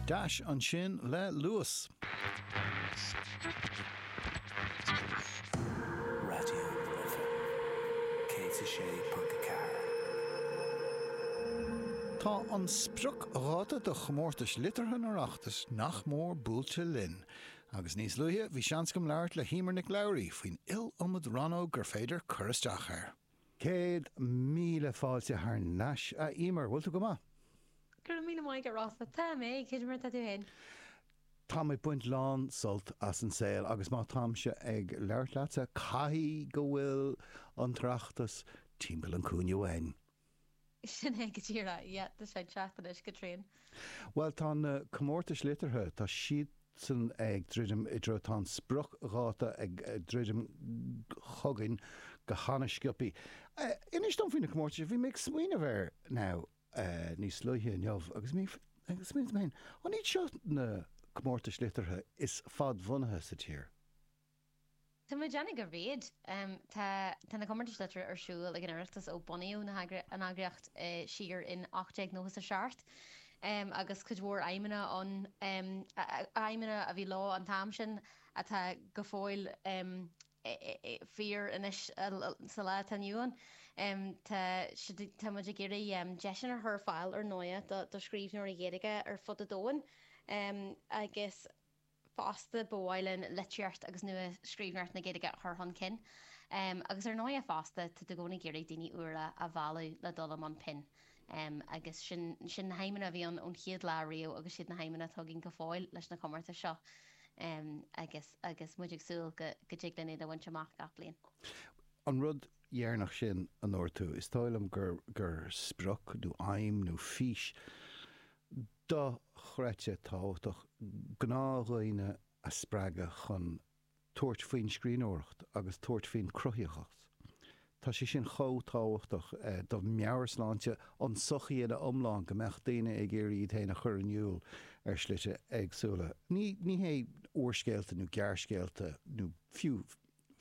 Dash ansin le Luas. Raidió na Life 106.4. Tá an spriocdháta do chomórtais liteartha an Oireachtais nach mór buailte linn, agus níos luaithe bhí seans agam labhairt le hEmer Nic Labhraí faoin iliomad rannóg gur féidir cur isteach air. 100,000 fáilte thar n-ais, a Emer. Bhfuil tú go maith? Go raibh míle maith agat, Rossa. Tá mé. Cad é mar atá tú féin? Táim ag baint lán sult as an saol agus má táimse ag labhairt leatsa, caithfidh go bhfuil an tOireachtas timpeall an chúinne uainn. Sin é go díreach. Yeah, tá sé ag teacht anois go tréan. Bhuel, tá na comórtais liteartha, tá siadsan ag druidim i dtreo, tá an spriocdháta ag druidim chugainn go hana-sciobthaí. Inis dom faoi na comórtais, bhí mé ag smaoineamh air now níos luaithe inniu agus mé ag smaoineamh liom féin, an iad seo na comórtais liteartha is fadbhunaithe sa tír? Tá mé ag déanamh gurb iad. Tá tá na comórtais liteartha ar siúl ag an Oireachtas ó bunaíodh na an eagraíocht siar in 1897 agus cuid mhór aidhmeanna ann, aidhmeanna a bhí leo an t-am sin atá go fóill fíor anois sa lá atá inniu ann. Tá siad tá muid ag iarraidh deiseanna a chur ar fáil ar ndóighe do scríbhneoirí Gaeilge ar fud an domhain agus Fosta, ba mhaith linn litríocht agus nua-scríbhneoireacht na Gaeilge a chur chun cinn. Agus ar ndóighe fosta, tá tú i gcónaí ag iarraidh daoine úra a mhealladh le dul i mbun pinn. Agus sin, sin na haidhmeanna a bhí ann ón chéad lá riamh agus siad na haidhmeanna atá againn go fóill leis na comórtais seo. Agus, agus muid ag súil go, go dtig linn iad a bhaint amach gach bliain. An rud dheireanach sin a ndúirt tú, is dóigh liom gur, gur sprioc nó aidhm nó fís dochreidte tábhachtach gnáthdhaoine a spreagadh chun tabhairt faoin scríbhneoireacht agus tabhairt faoin cruthaitheacht. Tá sé sin chomh tábhachtach do mheabhairshláinte an tsochaí ina iomlán go mbeadh daoine ag iarraidh iad féin a chur in iúl ar shlite éagsúla. Ní ní hé úrscéalta nó gearrscéalta nó fiú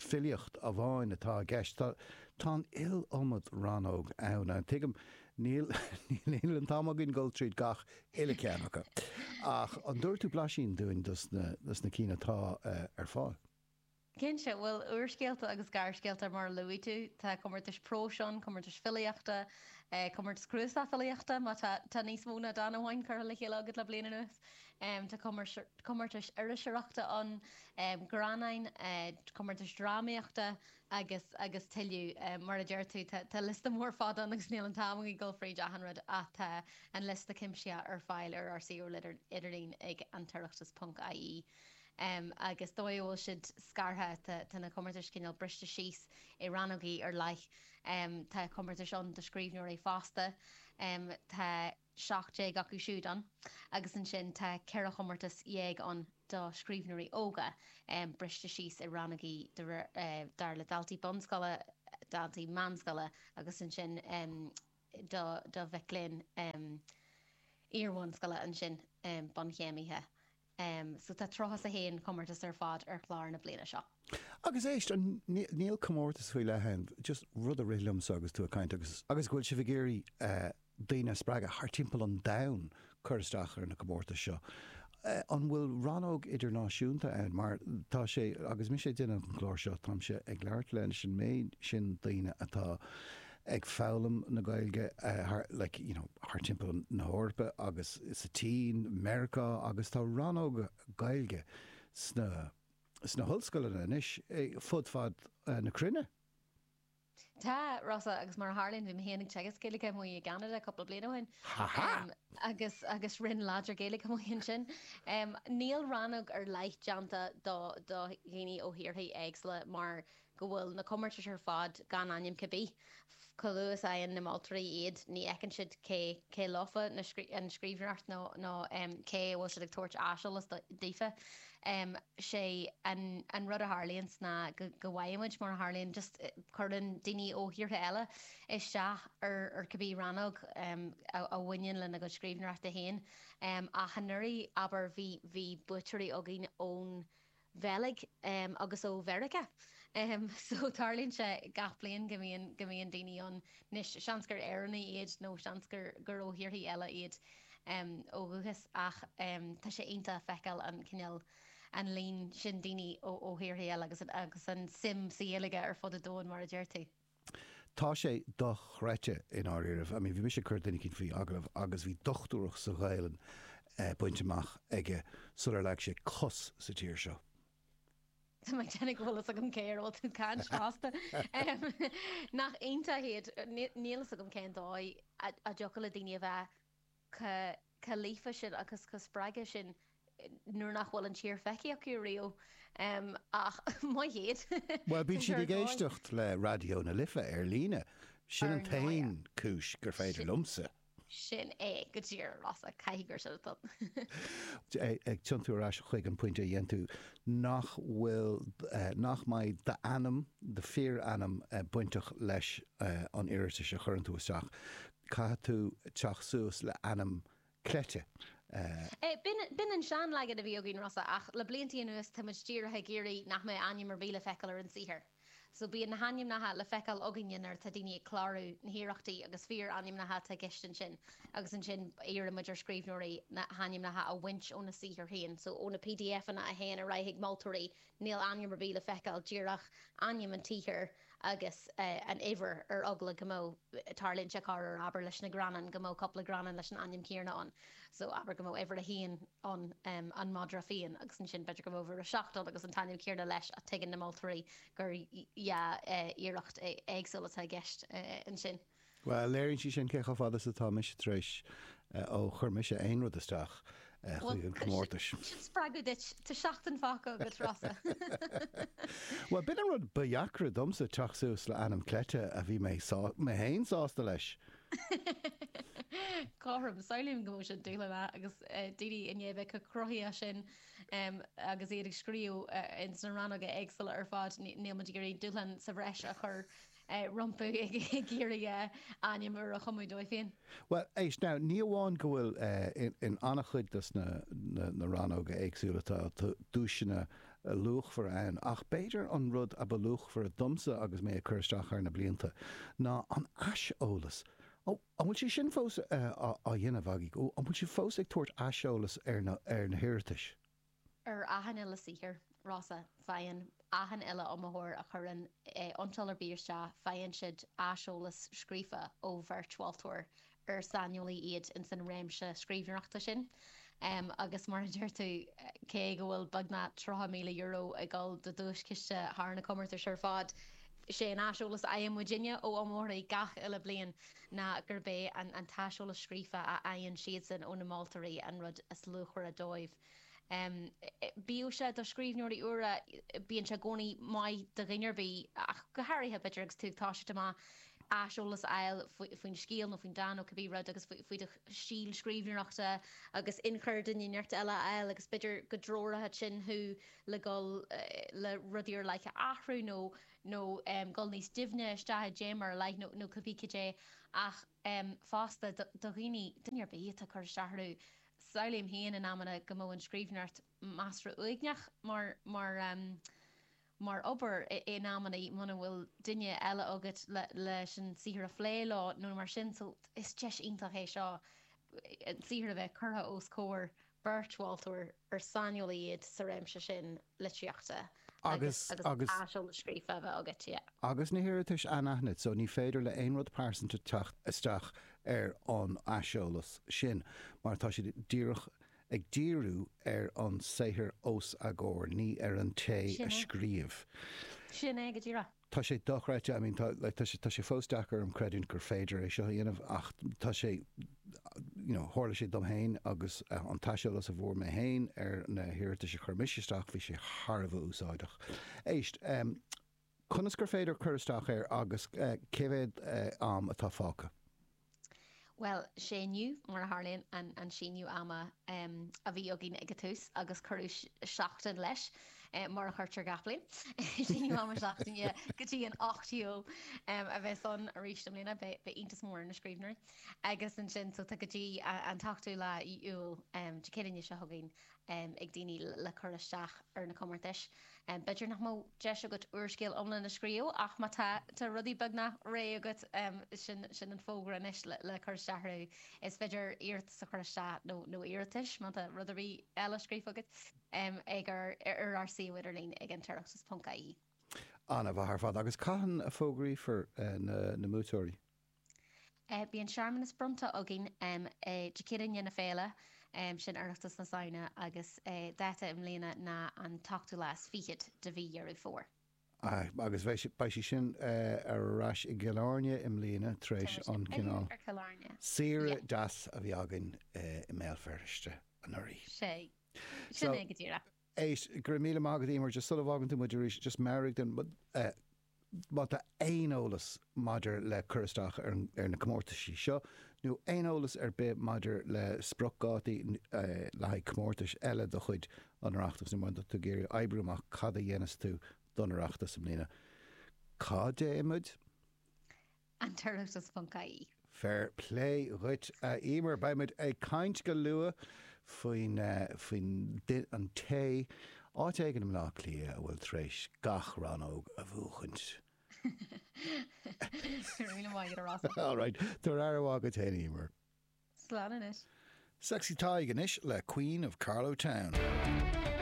filíocht amháin atá i gceist. Tá tá an iliomad rannóg ann. And tuigim, níl níl an t-am againn dul tríd gach uile ceann acu. Ach an dtabharfaidh tú blaisín dúinn dos na dos na cinn atá ar fáil? Cinnte. Bhuel, úrscéalta agus gearrscéalta mar a luaigh tú. Tá comórtais próis ann, comórtais filíochta, comórtas cnuasach filíochta má tá tá níos mó ná dán amháin curtha le chéile agat le bliain anuas. Tá comórtais iriseoireachta ann, greannáin, comórtais drámaíochta agus agus tuilleadh. Mar a deir tú, tá liosta mór fada ann agus níl an t-am againn dul fríd achan rud ach tá an liosta cuimsitheach ar fáil ar ár suíomh idirlín ag antoireachtas ponc ie. Agus dóigh a bhfuil siad scartha, tá na comórtais cineál briste síos i rannógaí ar leith. Tá comórtais ann do scríbhneoirí fásta. Tá. 17 acu siúd ann agus ansin tá 14 chomórtas ann do scríbhneoirí óga, briste síos i rannógaí de réir, dar le daltaí bunscoile, daltaí meánscoile agus ansin do do mhic léinn iar-bhunscoile ansin, bunchéimithe. So tá 31 comórtas ar fad ar chlár na bliana seo. Agus éist, níl comórtas faoi leith ann, just rud a rith liomsa agus tú ag caint agus agus go bhfuil sibh ag iarraidh daoine a spreagadh thar timpeall an domhain cur isteach ar na comórtais seo. An bhfuil rannóg idirnáisiúnta ann? Mar tá sé, agus mise ag déanamh an chlár seo, táimse ag labhairt leis an méid sin daoine atá ag foghlaim na Gaeilge thar, like, you know, thar timpeall na hEorpa agus sa tSín, Meiriceá agus tá rannóga Gaeilge sna, sna hollscoileanna anois fud fad na cruinne. Tá, Rossa, agus mar a tharlaíonn, bhí mé féin ag teagasc Gaeilge amuigh i gCeanada cúpla bliain ó shin. Ha ha! Agus, agus roinn láidir Gaeilge amuigh ansin. Níl rannóg ar leith déanta do, do dhaoine ó thíortha éagsúla mar go bhfuil na comórtais ar fad gan ainm cibé. Chomh luath is a fhaigheann na moltóirí iad, ní fheiceann siad cé cé leofa na an scríbhneoireacht nó nó cé a bhfuil siad ag tabhairt aiseolas daofa. Sé an an rud a tharlaíonns ná go go bhfaigheann muid, mar a tharlaíonn, just cuireann daoine ó thíortha eile isteach ar ar cibé rannóg a a bhaineann lena gcuid scríbhneoireachta féin. Ach anuraidh, abair, bhí bhí buaiteoirí againn ón Bheilg agus ó Mheiriceá. So tarlaíonn sé gach bliain go mbíonn, go mbíonn daoine ann. Anois, seans gur Éireannaigh iad nó seans gur, gur ó thíorthaí eile iad. ó dhúchas ach tá sé iontach feiceáil an cineál, an líon sin daoine ó thíortha eile agus agus an suim sa Ghaeilge ar fud an domhain mar a deir tú. Tá sé dochreidte i ndáiríribh. I mean bhí mise ag cur duine eicínt faoi agallamh agus bhí dochtúireacht sa Ghaelainn bainte amach aige sular leag sé cos sa tír seo. Tá mé ag déanamh go bhfuil fhios agam cé ar a bhfuil tú ag caint fosta. Nach iontach iad. Níl fhios agam cén dóigh a dtiocfadh le daoine a bheith chomh líofa sin agus chomh spreagtha sin nuair nach bhfuil an tír feicthe acu riamh. Ach maith iad. Bhuel, bíonn siad ag éisteacht le Raidió na Life ar líne. Sin an t-aon chúis gur féidir liomsa. Sin é go díreach, a Rossa, caithfidh gur sin atá ann. Ag tiontú ar ais chuig an pointe a dhein tú, nach bhfuil, nach mbeidh d'ainm, do fíor-ainm bainteach leis an iarratas a chuireann tú isteach. Caithfidh tú teacht suas le ainm cleite. B'in an seanleagan a bhí againn, Rossa, ach le bliantaí anuas tá muid díreach ag iarraidh nach mbeadh ainm ar bith le feiceáil ar an saothar. So bíonn na hainmneacha le feiceáil againne nuair atá daoine ag clárú na hiarrachtaí agus fíor-ainmneacha atá i gceist ansin agus ansin iarrann muid ar scríbhneoirí na hainmneacha a bhaint óna saothar féin. So ó na PDFanna a théann ar aghaidh chuig moltóirí níl ainm ar bith le feiceáil, díreach ainm an tsaothair agus an uimhir ar eagla go mbeadh, tarlaíonn sé corruair abair leis na greannáin, go mbeadh cúpla greannán leis an ainm céanna ann. So abair go mbeadh uimhir a haon ann, an madra fiáin, agus ansin b'fhéidir go mbeadh uimhir a 7 ann agus an t-ainm céanna leis ach tuigeann na moltóirí gur dhá iarracht éagsúla atá i gceist ansin. Bhuel, léiríonn sé sin cé chomh fada is atá mise tar éis ó chuir mise aon rud isteach chuig an chomórtas. Sin spreagadh duit, tá seachtain fágtha agat, Rossa. Bhuel, b'in an rud ba dheacra domsa, teacht suas le ainm cleite a bhí mé mé féin sásta leis. Cothrom, samhlaím go mbeadh sin dúshlánach agus daoine i ndiaidh a bheith chomh cruthaitheach sin agus iad ag scríobh ins na rannóga éagsúla ar fad, níl muid ag iarraidh dúshlán sa bhreis a chur rompu ag iarraidh ainm úr a chumadh dóibh féin. Bhuel, éist now, ní amháin go bhfuil in an-chuid dos na rannóga éagsúla tá duaiseanna luachmhara ann, ach b'fhéidir an rud a ba luachmhaire domsa agus mé ag cur isteach thar na blianta ná an aiseolas. Ó, an bhfuil sé sin fós á dhéanamh agaibh? Ó, an bhfuil sibh fós ag tabhairt aiseolas ar na, ar na hiarratais? Ar achan uile saothar, Rossa, faigheann achan uile iomaitheoir a chuireann iontráil ar bith isteach, faigheann siad aiseolas scríofa ó bheirt mholtóir ar saineolaí iad ins an réimse scríbhneoireachta sin. Agus mar a deir tú, cé go bhfuil beagnach €30,000 ag dul do duaischiste thar na comórtais ar fad, sé an aiseolas a fhaigheann muidinne ó iomaitheoirí gach uile bliain ná gurb é an t-aiseolas scríofa a fhaigheann siadsan ó na moltóirí an rud is luachmhaire dóibh. Bíodh sé do scríbhneoirí úra, bíonn sé i gcónaí maith do dhuine ar bith, ach go háirithe, b'fhéidir, agus tú ag toiseacht amach, aiseolas a fháil faoin scéal nó faoin dán nó cibé rud agus faoi do stíl scríbhneoireachta agus ionchur duine inteacht eile a fháil agus b'fhéidir go dtreoródh sin thú le dhul le rudaí ar leith a athrú nó nó dhul níos doimhne isteach i dtéama ar leith nó nó cibé cad é ach fosta do dhaoine, duine ar bith atá ag cur isteach orthu Samhlaím féin in amanna go mbeadh an scríbhneoireacht measartha uaigneach mar, mar, mar obair in amanna muna bhfuil duine eile agat le, leis an saothar a phlé leo nó mar sin so is deis iontach é seo an saothar a bheith curtha os comhair beirt mholtóir ar saineolaí iad sa réimse sin litríochta agus, agus agus aiseolas scríofa a bheith agat, yeah. Agus na hiarratais anaithnid, so ní féidir le aon rud pearsanta teacht isteach ar an aiseolas sin, mar tá siad díreach ag díriú ar an saothar os a gcomhair, ní ar an té Sin a é. scríobh. Sin é go díreach. Tá sé dochreidte, I mean tá like tá sé tá sé fós deacair orm creidiúint gur féidir é seo a dhéanamh ach tá sé you know tharla sé dom féin agus an t-aiseolas a bhfuair mé féin ar na hiarratais a chuir mise isteach bhí sé thar a bheith úsáideach. Éist, em conas gur féidir cur isteach air agus cé mhéad am atá fágtha? Bhuel, sé inniu, mar a tharlaíonn, an síneadh ama a bhí againn ag an tús agus cuireadh seachtain leis, mar a chuirtear gach bliain. Síneadh ama seachtaine go dtí an 8 Iúil a bheas ann arís i mbliana. Beidh iontas mór ar na scríbhneoirí. Agus ansin, so tá go dtí an t-ochtú lá Iúil, Dé Céadaoine seo chugainn, ag daoine le cur isteach ar na comórtais. B'fhéidir nach mbeadh deis agat úrscéal iomlán a scríobh ach má tá, tá rudaí beagnach réidh agat, sin, sin an fógra anois le, le cur isteach orthu. Is féidir iarratas a chur isteach nó, nó iarratais má tá rud ar bith eile scríofa agat, ag ár, ar ár suíomh idirlín ag an toireachtas.ie. An-mhaith ar fad. Agus cathain a fógraífear na, na buaiteoirí? Bíonn searmanas bronnta againn Dé Céadaoin i ndiaidh na féile, sin Oireachtas na Samhna, agus dáta i mbliana ná an t-ochtú lá is fichead de mhí Dheireadh Fómhair. Agus beidh sé sin ar ais i gCill Airne i mbliana tar éis an cineál saoire deas a bhí againn i mBéal Feirste anuraidh. Sea, sin é go díreach. Éist, go raibh míle maith agat Emer, just sula bhfágann tú muid arís, just meabhraigh dúinn, má tá aon eolas maidir le cur isteach ar ar na comórtaisí seo, nó aon eolas ar bith maidir le spriocdhátaí le haghaidh comórtais eile de chuid an Oireachtais, nó má tá tú ag iarraidh oibriú amach cad a dhéanfas tú don Oireachtas i mbliana, cá dtéann muid? An tOireachtas.ie. Fair plé dhuit, a Emer. Beidh muid ag caint go luath faoin, faoin, an té, áit éigin i mBleá Cliath a bhfuil tar éis gach rannóg a bhuachaint. Go raibh míle maith agat, a Rossa. All right. Tabhair aire mhaith dhuit féin, Emer. Slán anois. Sexy Tadhg anois le Queen of Carlow Town.